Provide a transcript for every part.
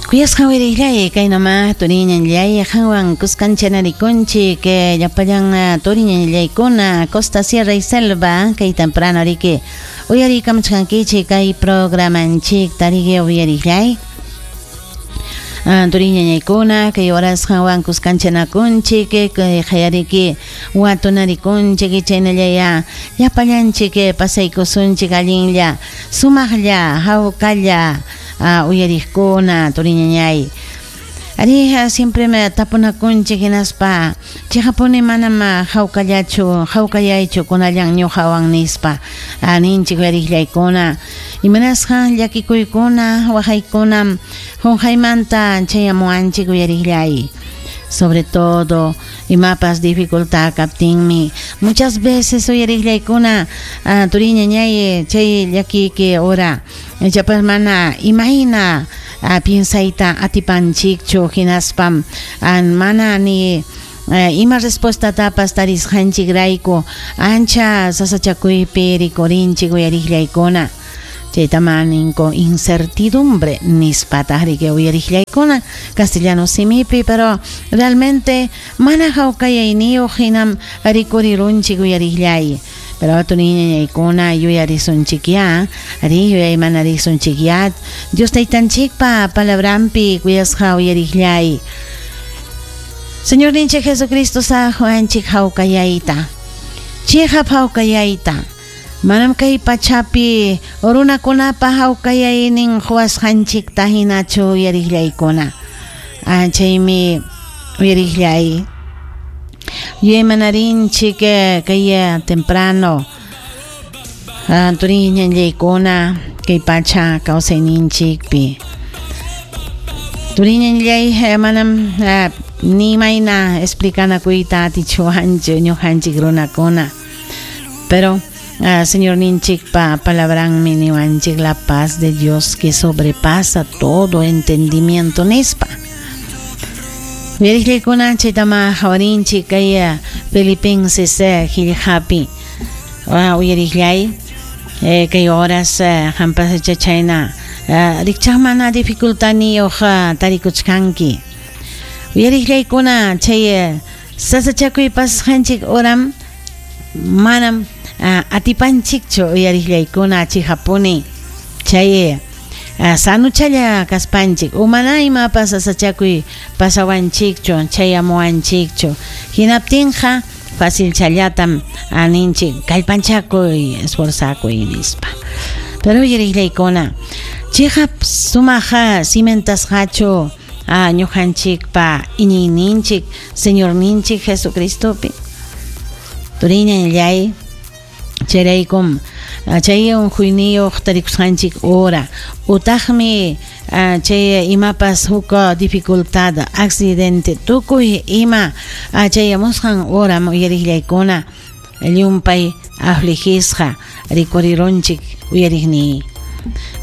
Kuyasqa wirillay kaynama turiñanllay qanwan kuskancha-narikunchik llapallan turiñanllaykuna Costa Sierra y Selva kay temprano riki uyariykamuchkankichik kay programanchikta riki uyarillay. Turiñañaykuna kay horas qanwan kuskanchanakunchik kay qayariki watunarikunchik chaynallaya llapallanchik pasaykusunchik allinlla sumaqlla hawkalla uyariqkuna turiñañay. Ari siempre me tapunakunchik hinaspa chiqapuni manam hawkallachu hawkayaychu kunallan ñuqawan nispa ninchik uyariqllaykuna imanasqa llakikuykuna waqaykunam qunqaymanta chayamuwanchik uyariqllay. Sobre todo imapas dificultad kaptinmi muchas veces uyariqllaykuna turiñañay chay llakiki hora ichapas mana imayna piensayta atipanchikchu hinaspam mana ni ima respuestatapas tarisqanchikrayku ancha sasachakuypi rikurinchik uyariqllaykuna chaytama ninku incertidumbre nispataq riki uyariqllaykuna castellano simipi pero realmente mana hawkayayniyuq hinam rikurirunchik uyariqllay. Pero turiñañaykuna yuyarisunchikyá ari yuyaymanarisunchikyá Dios taytanchikpa palabranpi kuyasqa uyariqllay. Señor ninchik Jesucristo sajuanchik hawkayayta chiqap hawkayayta manam kay pachapi runakunapa hawkayaynin quwasqanchikta hinachu uyariqllaykuna chaymi uyariqllay yuyaymanarinchik kay temprano turiñanllaykuna kay pacha kawsayninchikpi turiñanllay manam ni mayna explicanakuyta atichuwanchu ñuqanchik runakuna pero Señor ninchikpa palabranmi niwanchik la paz de Dios que sobrepasa todo entendimiento nispa. Uyariqllaykuna chaytama hawarinchik kay Filipenses qillqapi uyariqllay kay horas qampas chayna rikchaq mana dificultadniyuq tarikuchkanki uyariqllaykuna chay sasachakuy pasasqanchik horam manam atipanchikchu uyariqllaykuna chiqapuni chay sanuchalla kaspanchik umana imapas sasachakuy pasawanchikchu chayamuwanchikchu hinaptinqa facilchallatam ninchik kallpanchakuy esforzakuy nispa. Pero uyariqllaykuna chiqap sumaqa cimentasqachu ñuqanchikpa iñiyninchik Señorninchik Jesucristopi turiñanllay chayraykum chay unquyniyuq tarikusqanchik hora utaqmi chay imapas huk dificultad accidente tukuy ima chayamusqan horam uyariqllaykuna llumpay afligisqa rikurirunchik uyariqniy.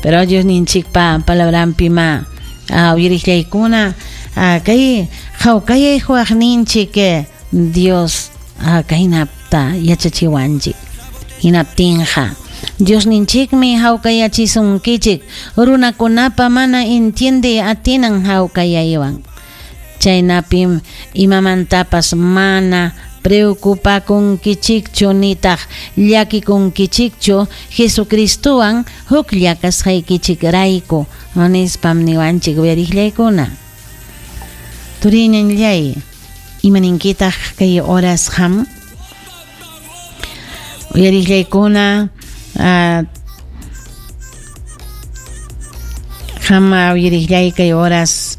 Pero Dios ninchikpa palabranpi ma uyariqllaykuna kay hawkayay huwaqninchik Dios kaynapta yachachiwanchik hinaptinqa Dios ninchikmi hawkayachisunkichik runakunapa mana entiende atinan hawkayaywan chaynapim imamantapas mana preocupakunkichikchu nitaq llakikunkichikchu Jesucristowan huklla kasqaykichikrayku nispam niwanchik uyariqllaykuna. Turiñanllay imaninkitaq kay horas qam uyariqllaykuna qam uyariqllay kay horas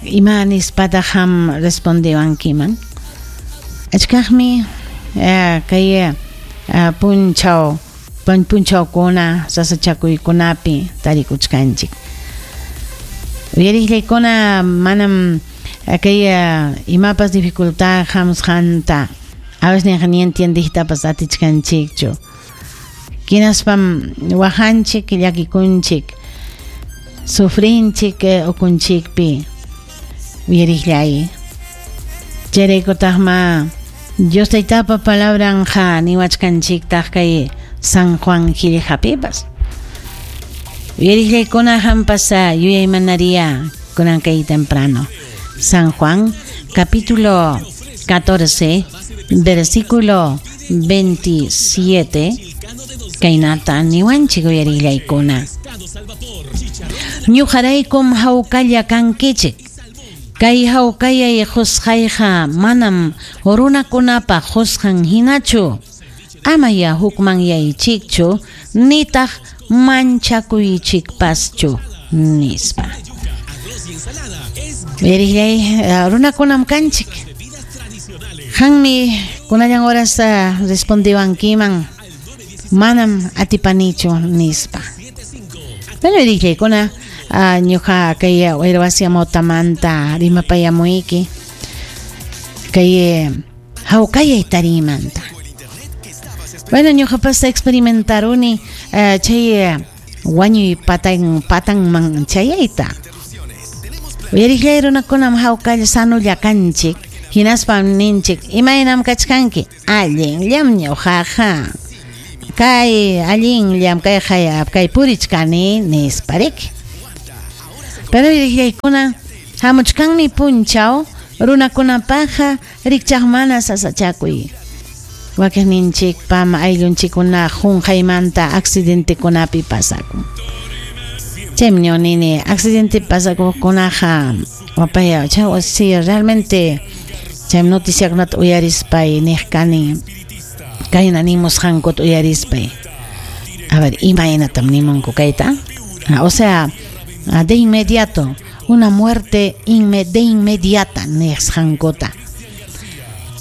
ima nispataq qam respondewankiman achkaqmi kay punchaw punchawkuna sasachakuykunapi tarikuchkanchik uyariqllaykuna manam kay imapas dificultad hamusqanta a veces ni entiendijtapas atichkanchikchu hinaspam waqanchik llakikunchik sufrinchik ukunchikpi uyariqllay chayraykutaqma Dios taytapa palabranqa niwachkanchiktaq kay San Juan qillqapipas. Uyariqllaykuna hampas yuyaymanariya kunan kay temprano. San Juan, capítulo 14, versículo 27. Kaynata niwanchik uyariqllaykuna. Ñuqaraykum hawkalla kankichik. Kay hawkayay qusqayqa manam runakunapa qusqan hinachu. Amaya hukmanyaychikchu nitaq manchakuychikpaschu nispa. Uyariqllay runakunam kanchik. Hanmi kunallan horas respondiwankiman manam atipanichu nispa. Pero uyariqllaykuna ñuqa kay wayrawasi amawtamanta rimapayamuyki kay hawkayay tarimanta. Bueno, ñuqapas experimentaruni chay wañuy patanman chayayta. Uyariqllay runakunam hawkalla sanulla kanchik, hinaspam ninchik imaynam kachkanki allinllam ñuqaqa. Kay allinllam kay kay purichkani nispa riki. Pero uyariqllaykuna hamuchkanmi punchaw runakunapaqqa rikchaq mana sasachakuy. Wakiqninchikpam ayllunchikkuna qunqaymanta accidentekunapi pasakun. Chaymi nini accidente pasakuqkunaqa wapaya chay si realmente chay noticiakunata uyarispay niq kani kayna nimusqankuta uyarispay. A ver, imaynatam nimunku kayta? O sea, de inmediato, una muerte de inmediata nisqankuta.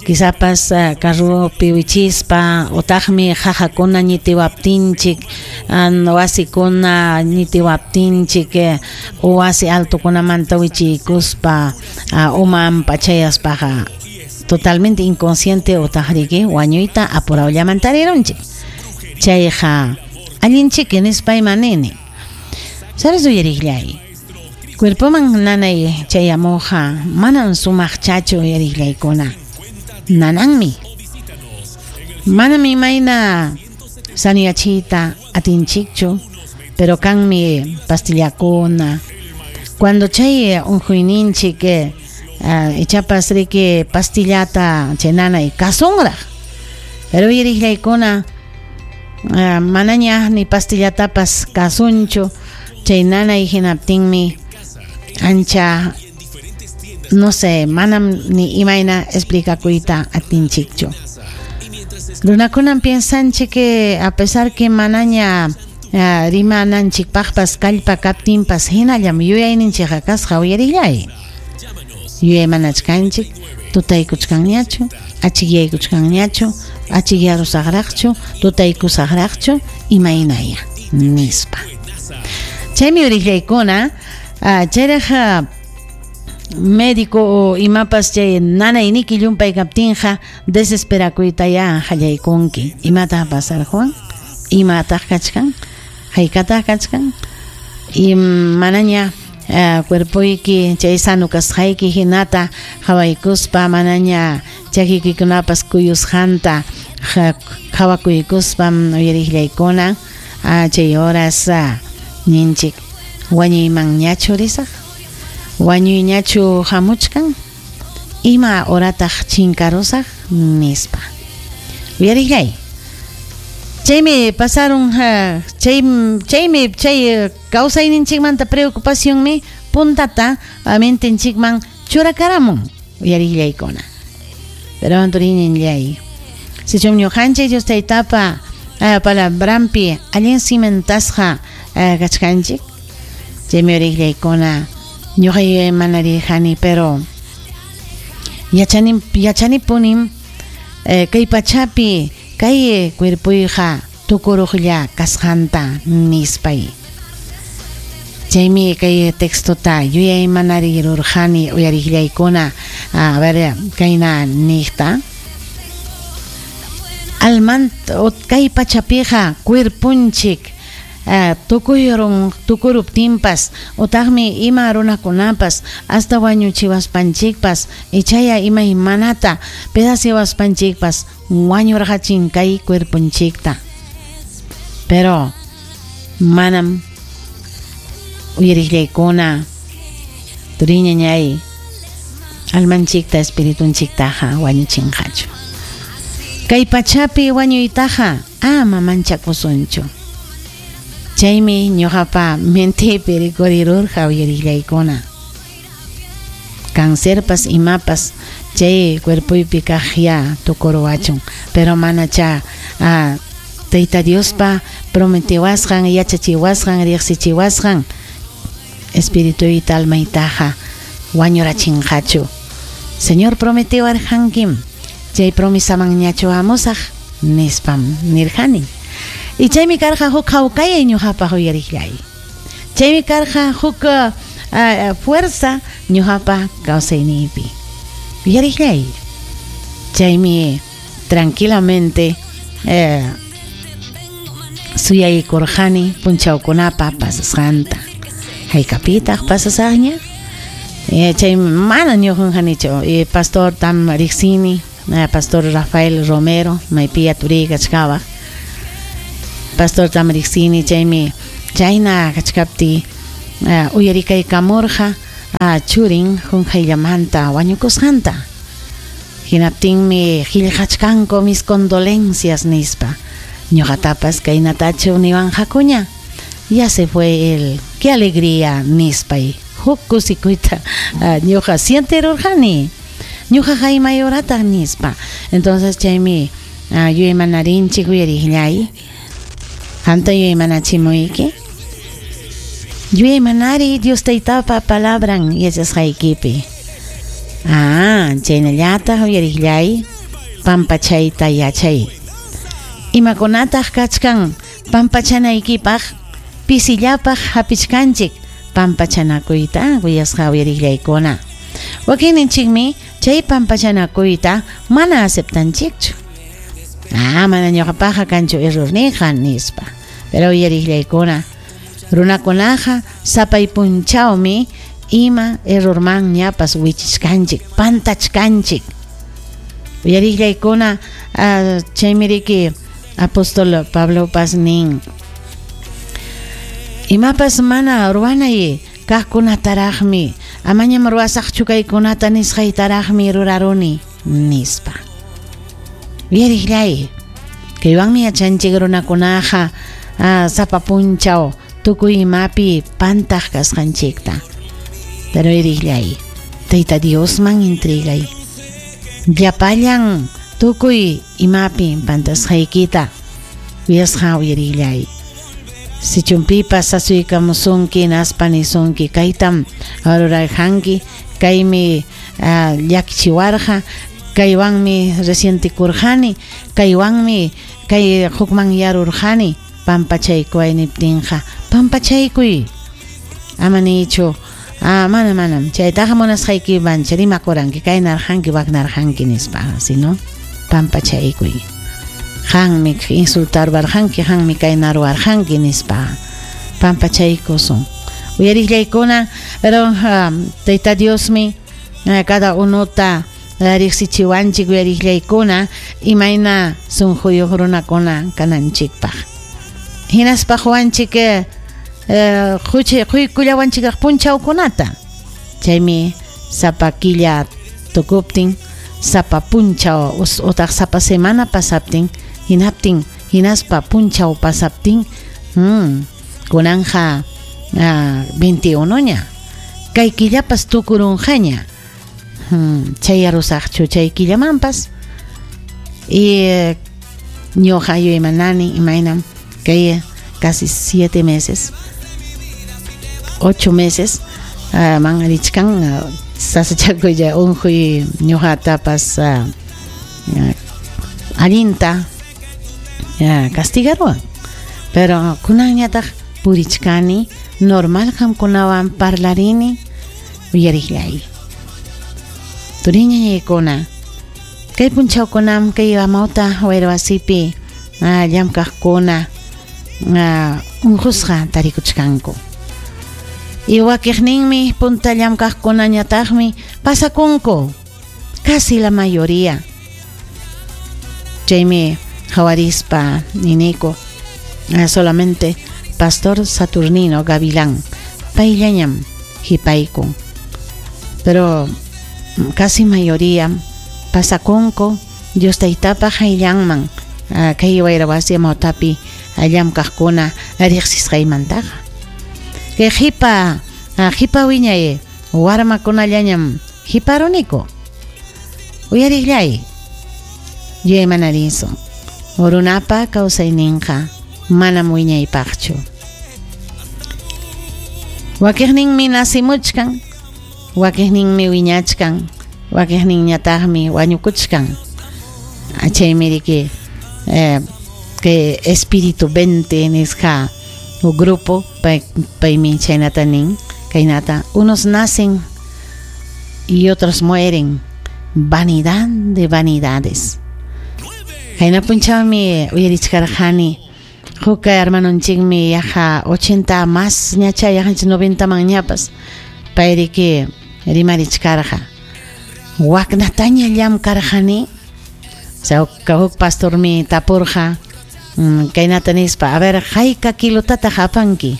Quizás carropi wichispa otaqmi qaqakuna ñitiwaptinchik wasikuna ñitiwaptinchik wasi altokunamanta wichiykuspa umanpa chayaspaqa totalmente inconsciente otaq riki wañuyta apurawllamanta rirunchik. Chayqa allinchiki nispayman nini. ¿Sabes uyariqllay? Cuerpoman nanay chayamuqqa manam sumaqchachu uyariqllaykuna. Nananmi. Manam imayna sanuyachiyta atinchikchu, pero kanmi pastillakuna. Cuando chay unquyninchik ichapas riki pastillata chay nanay kasunraq. Pero uyariqllaykuna manaña ni pastillatapas kasunchu, chay nanay hinaptinmi ancha no sé, manam ni imayna explicakuyta atinchikchu. Runakunam piensanchik que a pesar que manaña rimananchikpaqpas kallpa kaptinpas hinallam yuyayninchikqa kasqa uyariqllay. Yuyaymanachkanchik, tutaykuchkanñachu, achikyaykuchkanñachu, achikyarusaqraqchu, tutaykusaqraqchu, imaynaya nispa. Chaymi uyariqllaykuna chayraq médico o imapas chay nanayniki llumpay kaptinqa desesperakuytaya qallaykunki. Imataq pasarqun? Imataq kachkan? Haykataq kachkan? Y manaña cuerpoyki chay sano kasqayki hinata qhawaykuspa manaña chakiykikunapas kuyusqanta qhawakuykuspam uyariqllaykuna chay horas ninchik wañuymanñachu risaq? Wañuyñachu hamuchkan? Ima horataq chinkarusaq nispa. Uyariqllay. Chaymi pasaron chaymi chay kawsayninchikmanta preocupacionmi puntata mentenchikman churakaramun uyariqllaykuna. Pero anturininllay. Sichum ñuqanchik Dios taytapa palabranpi allin cimentasqa kachkanchik. Chaymi uyariqllaykuna ñuqa yuyaymanariyqani, pero yachanipunim kay pachapi kay cuerpoyqa tukuruqlla kasqanta nispay. Chaymi kay textota yuyaymanariyrurqani uyariqllaykuna a ver kayna niqta. Almanta kay pachapiqa cuerponchik tukuruptinpas otaqmi ima runakunapas hasta wañuchiwaspanchikpas ichaya imaymanata pedaciawaspanchikpas wañurqachin kay cuerponchikta. Pero manam Uyariqllaykuna turiñañay almanchikta espiritunchiktaqa wañuchinqachu. Kay pachapi wañuytaqa ama manchakusunchu. Chaymi ñuqapa mentepi rikurirurqa uyariqllaykuna. Cancerpas imapas chay cuerpoypi kaq ya tukuruwachun, pero manacha Tayta Diospa prometiwasqan, yachachiwasqan, riqsichiwasqan espirituyta almaytaqa wañurachinqachu. Señor prometiwarqankim, chay promesamanñachu hamusaq nispam nirqani. Y chaymi karqa huk hawkayay ñuqapaq uyariqllay. Chaymi karqa huk fuerza ñuqapa kawsayniypi. Uyariqllay. Chaymi tranquilamente suyaykurqani punchawkunapa pasasqanta. Haykapitaq pasasaqña? Chay mana ñuqanqanichu. Pastor tam riqsini, Pastor Rafael Romero, maypiya turiy kachkawaq. Pastor tam riqsini, chaymi chayna kachkaptiy uyarikaykamurqa churin qunqayllamanta wañukusqanta. Hinaptinmi qillqachkanku mis condolencias nispa. Ñuqatapas kaynatachu niwanqakuña. Ya se fue él, qué alegría nispay. Huk kusikuyta ñuqa sienterurqani. Ñuqaqa imay horataq nispa. Entonces chaymi yuyaymanarinchik uyariqllay. Qamta yuyaymanachimuyki. Yuyaymanari Dios Taytapa palabran yachasqaykipi. Chaynallataq uyariqllay pampachayta yachay. Imakunataq kachkan pampachanaykipaq pisillapaq hapichkanchik pampachanakuyta kuyasqa uyariqllaykuna. Wakinninchikmi chay pampachanakuyta mana aceptanchikchu. Mana ñuqapaqqa kanchu errorniyqa nispa. Pero uyariqllaykuna runakunaqa sapay punchawmi ima errorman ñapas wichichkanchik, pantachkanchik. Uyariqllaykuna chaymi riki apóstol Pablopas nin imapas mana ruwanay kaqkunataraqmi amañam ruwasaqchu kaykunata nisqaytaraqmi ruraruni nispa. Uyariqllay, kaywanmi yachanchik runakunaqa sapa punchaw tukuy imapi pantaq kasqanchikta. Pero uyariqllay, Tayta Diosman entregay. Llapallan tukuy imapi pantasqaykita kuyasqa uyariqllay. Sichumpipas asuykamusunki hinaspa nisunki kaytam rurarqanki, kaymi llakichiwarqa, kaywanmi resientikurqani, kaywanmi kay hukmanyarurqani, pampachaykuway niptinqa pampachaykuy. Ama niychu mana manam chaytaqa munasqaykimancha rimakuranki kaynarqanki waknarqanki nispa, sino pampachaykuy. Qanmi insultarwarqanki, qanmi kaynaruwarqanki nispa pampachaykusun. Uyariqllaykuna, pero Tayta Diosmi cada unota riqsichiwanchik uyariqllaykuna imayna sunquyuq runakuna kananchikpaq. Hinaspa quwanchik quykullawanchikaq punchawkunata. Chaymi sapa killa tukuptin, sapa punchaw utaq sapa semana pasaptin, hinaptin hinaspa punchaw pasaptin, kunanja 21 ña. Kay killapas tukurunqaña. Chayarusaqchu chay killamanpas. Y ñuqa yuyaymanani imaynam kay casi 7 meses, 8 meses man richkan sasachakuylla unquy ñuqatapas allinta castigaruwan. Pero kunanñataq purichkani normal qamkunawan parlarini uyariqllay. Turiñañaykuna kay punchawkunam kay amawta wayrawasipi llamkaqkuna unqusqa tarikuchkanku. Y wakiqninmi punta llamkaqkunañataqmi pasakunku, casi la mayoría. Chaymi hawarispa niniku solamente Pastor Saturnino Gavilán Payllañam hipaykun. Pero casi mayoría pasakunku Dios taytapa hayllanman kay wayra wasi amawtapi llamkaqkuna riqsisqaymantaqa. Kay qipa qipa wiñay warmakunallañam hiparuniku. Uyariqllay yuyaymanarisun. Runapa kawsayninqa manam wiñaypaqchu. Wakiqninmi nasimuchkan, wakiqninmi wiñachkan, wakiqninñataqmi wañukuchkan. Chaymi riki que espíritu 20 nisqa grupo paymi chaynata nin kaynata unos nacen y otros mueren, vanidad de vanidades. Kayna punchawmi uyarichkarqani huk hermanonchikmi yaqa 80 más ñacha yaqanchik 90 man ñapas payriki rimarichkarqa waknataña llamkarqani. O sea, huk pastormi tapurqa kaynata nispa, a ver, hayka kilotataq apanki?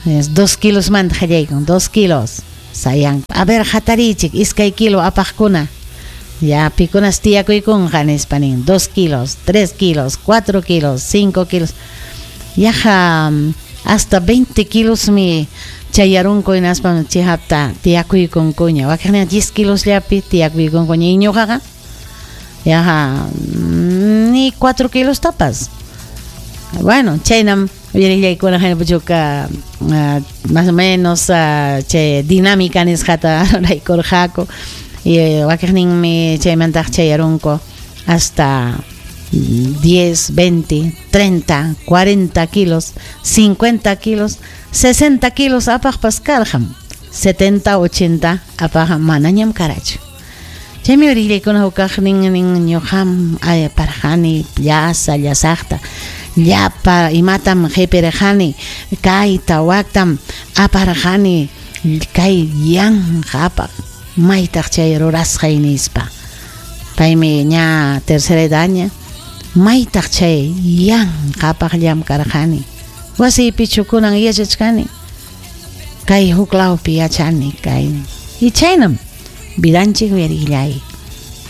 2 kilos manta hallaykun, 2 kilos. Sayan, a ver, hatarichik, 2 kilo apaqkuna. Ya, pikunas tiyakuykunqa nispa nin, 2 kilos, 3 kilos, 4 kilos, 5 kilos. Yaqa hasta 20 kilos mi chayarunku hinaspa chihapta tiyakuykunkuña. Wakiqnin 10 kilos llapi tiyakuykunkuña. Y ñuqaqa yaqa ni 4 kilos tapas. Bueno, chaynam uyarillaykuna haynapuchuka más o menos chay dinámica nisqata ruraykurqaku. Y wakiqninmi chaymantaq chayarunku hasta 10, 20, 30, 40 kilos, 50 kilos, 60 kilos apaqpas karqam, 70, 80 apaq manañam karachu. Chaymi uyarillaykuna hukaqnin nin ñuqam parqani llasa llasaqta llapa imatam qipirqani kayta waktam aparqani kay yanqa apaq maytaq chay rurasqay nispa. Paymi ña tercera edadña maytaq chay yanqa apaq llamkarqani wasiypichu kunan yachachkani kay huk lawpi yachani kay y chaynam vidanchik uyarillay.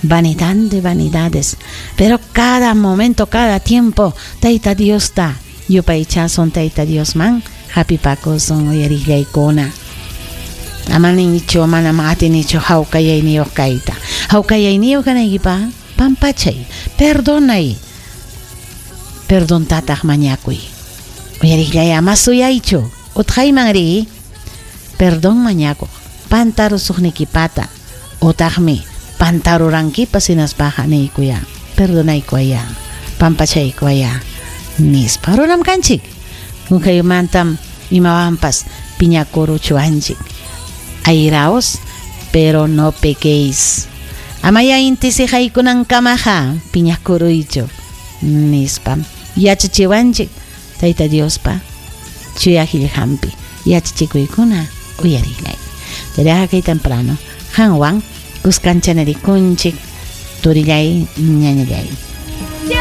Vanidad de vanidades, pero cada momento, cada tiempo Tayta Diosta yupaychasun Tayta Diosman hapipakusun uyarillaykuna. Amanichu manam atinichu hawkayayniyuq kayta. Hawkayayniyuq kanaykipaq pampachay, perdonay, perdontataq mañakuy. Uyarillay ama suyaychu utqayman ri perdón mañakuq pantarusuqnikipata utaqmi pantarurankipas hinaspaqa niykuya perdonaykuaya pampachaykuaya nispa. Runam kanchik hunkaymantam imawanpas piñakuruchuanchik. Airaos, pero no pequéis. Amaya inti siqaykunankamaqa piñakuruychu nispa. Yachachiwanchik Tayta Diospa chuya qillqanpi yachachikuykuna uyarillay. Chayraqa kay temprano qanwan kuskancha nirikunchik turillay ñañallay.